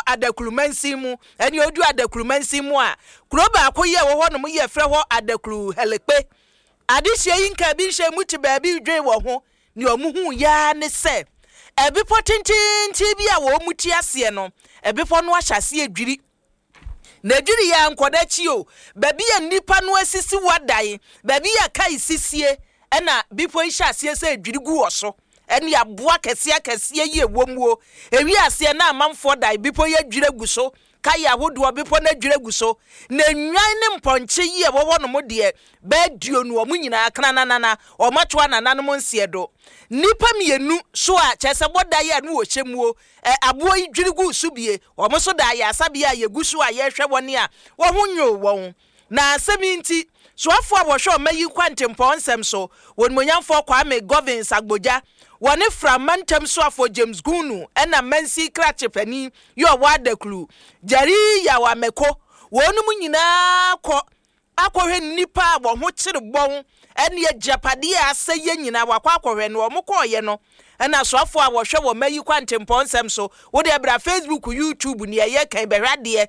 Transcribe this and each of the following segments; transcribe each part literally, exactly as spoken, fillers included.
Adaklu mansin mu. Ɛne odu Adaklu mansin mu a, kuro baako yi a ɛwɔ hɔ nom yɛfrɛ hɔ Adaklu Hɛlɛkpe. Adehyɛ yi nka bi nhyɛ mu te baabi dwen wɔ ho. Nea ɔmo hu yaa ne sɛ ɛbepɔ tententen bi a wɔn mu te aseɛ no, ɛbepɔ no ahyɛ aseɛ dwiri na dwiri yɛ nkɔda akyi o. Baabi a nnipa no asisi wadan, baabi a kae sisie, ɛna bepɔ yi hyɛ aseɛ sɛ dwiri gu wɔ so, ɛne aboa kɛseɛ kɛseɛ yi ɛwɔ mu o. Ewi aseɛ na amanfoɔ dan, bepɔ yi adwiri agu so, kae ahodoɔ, bepɔ no adwiri agu so, na nnwan ne mpɔnkye yi a ɛwɔ hɔ nom deɛ, bɛɛ duonu, wɔn nyinaa krananana wɔn ato anananom nseɛ do. Nnipa mmienu so a kyerɛ sɛ bɔda yi a no wɔhyɛ mu o, ɛ aboɔ yi dwiri gu so bie, wɔn nso da ayasabea a yɛgu so a yɛrehwɛ wɔn a wɔn ho nyoo wɔn. Na asɛm yi nti, soafoɔ a wɔhwɛ ɔma yi kwantempɔn nsɛm so, wɔnimonyamfoɔ Kwame Governs Agbodza, wɔne Frama ntam soafoɔ James Gunu, ɛna mansi krakye panin yi ɔwɔ Adaklu, Jerry Yaw Ameko, wɔn nyinaa kɔ akɔhwɛ nnipa a wɔn ho kyere bɔn ɛne agyapadeɛ a asɛ yɛ nyinaa. Wakɔ akɔhwɛ no, wɔn kɔɔyɛ no, ɛna soafoɔ a wɔhwɛ wɔn mayi kwantempɔn nsɛm so, wode ɛbra Facebook, YouTube, nea ɛyɛ kan, bɛhwɛ adeɛ,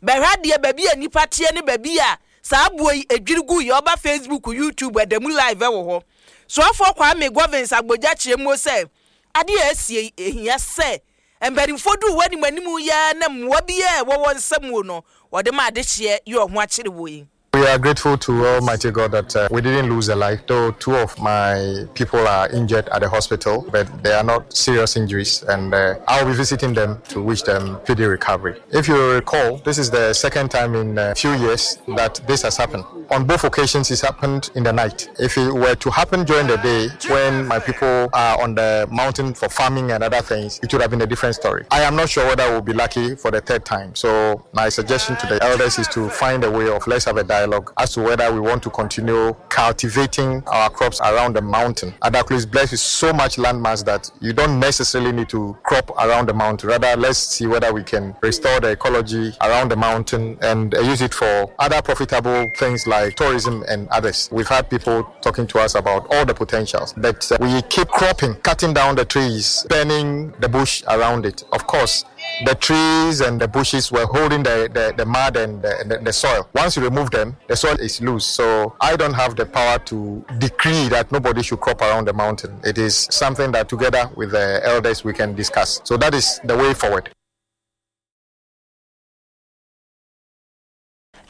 bɛhwɛ adeɛ, baabi a nipa teɛ ne baabi a saa aboɔ yi edwiri gu yɛ. Ɔba Facebook, YouTube, ɛda mu live ɛwɔ hɔ. Soafoɔ Kwame Governs Agbodza kyerɛ mu sɛ adeɛ a esie ehia sɛ mpanimfoɔ du wɔ anim anim yɛ na mmoa bi a ɛwɔ wɔn nsam no, wɔde ma adehyeɛ yɛ ɔho akyere wɔ yi. We are grateful to Almighty God that uh, we didn't lose a life, though two of my people are injured at the hospital, but they are not serious injuries, and uh, I'll be visiting them to wish them speedy recovery. If you recall, this is the second time in a few years that this has happened. On both occasions, it's happened in the night. If it were to happen during the day, when my people are on the mountain for farming and other things, it would have been a different story. I am not sure whether we'll be lucky for the third time. So my suggestion to the elders is to find a way of, let's have a dialogue as to whether we want to continue cultivating our crops around the mountain. Adaklu is blessed with so much landmass that you don't necessarily need to crop around the mountain. Rather, let's see whether we can restore the ecology around the mountain and use it for other profitable things like tourism and others. We've had people talking to us about all the potentials, but uh, we keep cropping, cutting down the trees, burning the bush around it. Of course, the trees and the bushes were holding the, the, the mud and the, the, the soil. Once you remove them, the soil is loose. So I don't have the power to decree that nobody should crop around the mountain. It is something that together with the elders we can discuss. So that is the way forward.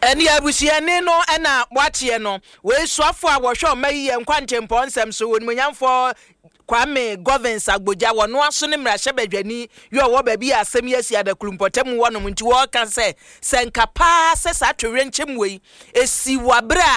Ɛne abusuani no ɛna wateɛ no wei, soafo a wɔhwɛ ɔma yi yɛ nkwantempɔn nsɛm so, onimonyamfoɔ Kwame Governs Agbodza, wɔno aso ne mmarahyɛbadwani yi ɔwɔ baabi a asɛm yi asi, Adaklu mpɔtam wɔnom. Nti wɔreka sɛ sɛ nka paa sɛ saa towerɛnkyɛm wei esi wɔ abere a